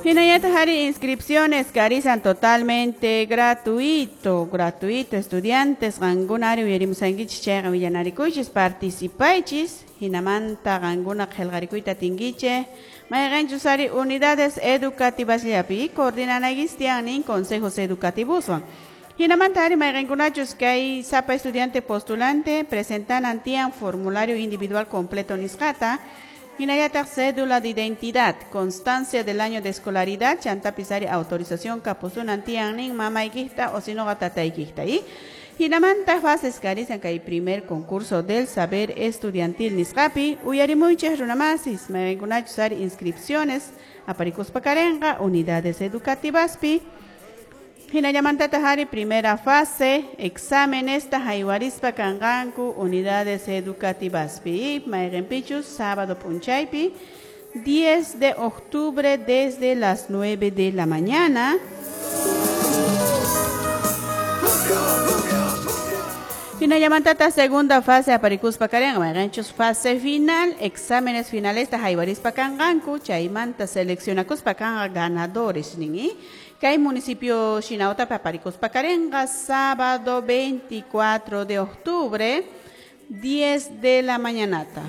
Hinallataq ari inscripciones karisan totalmente gratuito, gratuito estudiantes qankuna ari uyarimusankichis chayqa willanarikuychis participaychis hinamanta qankuna qillqarikuyta atinkichik mayqinchus ari unidades educativas llapi coordinanaykichis tiyan nin consejos educativoswan. Hinamanta ari mayqinkunachus kay sapa estudiante postulante presentanan tiyan formulario individual completo nisqata hinallataq cédula de identidad, constancia del año de escolaridad, chantapis ari autorización kapusunan tiyan nin mamaykikta o sinoqa tataykikta y hinamanta fases karisan kay primer concurso del saber estudiantil nisqapi uyarimuychik runamasis mayqinkunachus ari inscripciones aparikuspa karenqa unidades educativaspi. Hinallamantataq ari primera fase exámenes haywarispa kanqanku unidades educativaspi mayqinpichus sábado p'unchaypi 10 de octubre desde las 9 de la mañana. Hinallamantata segunda fase aparikuspa karenqa mayqinchus fase final exámenes finales haywarispa kanqanku chaymanta seleccionakuspa kanqa ganadores nin. Kay municipio Shinautapa aparikuspa karenqa sábado 24 de octubre 10 de la mañanata.